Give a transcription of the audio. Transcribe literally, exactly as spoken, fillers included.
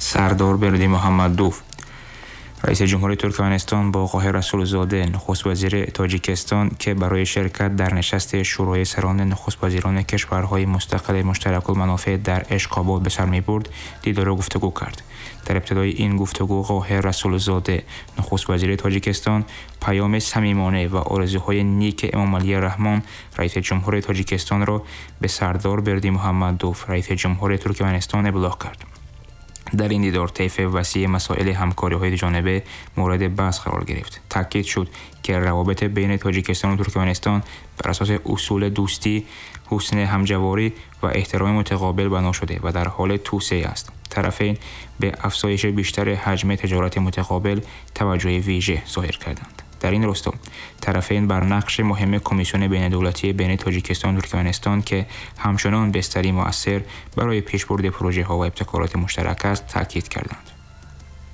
Сардор Бердимуҳаммадов. Раиси ҷумҳури Туркманистон бо Қоҳир Расулзода, нахуствазири Тоҷикистон, ки барои ширкат дар нишасти Шӯрои сарони нахуствазирони кишварҳои мустақили муштаракулманофеъ дар Ишқобод ба сар мебурд, дидору гуфтугӯ кард. Дар ибтидои ин гуфтугӯ Қоҳир Расулзода, нахуствазири Тоҷикистон, паёми самимона ва орзуҳои ники Эмомалӣ Раҳмон, раиси ҷумҳури Тоҷикистонро ба Сардор Бердимуҳаммадов, раиси ҷумҳури Туркманистон, иблоғ кард. Дар ин дидор тайфи васеи масоили ҳамкориҳои дуҷониба мавриди баҳс қарор гирифт. Таъкид шуд, ки равобити байни Тоҷикистон ва Туркманистон бар асоси усули дӯстӣ, ҳусни ҳамҷаворӣ ва эҳтироми мутақобил бино шуда ва дар ҳоли тавсеа аст. Тарафайн ба афзоиши бештари ҳаҷми тиҷорати мутақобил таваҷҷӯҳи вижа зоҳир карданд. Дар ин росто тарафайн бар нақши муҳими Комиссияи байнидавлатии байни Тоҷикистон ва Туркманистон, ки ҳамчунон бистари муассир барои пешбурди лоиҳаҳо ва ибтикороти муштарак аст, таъкид карданд.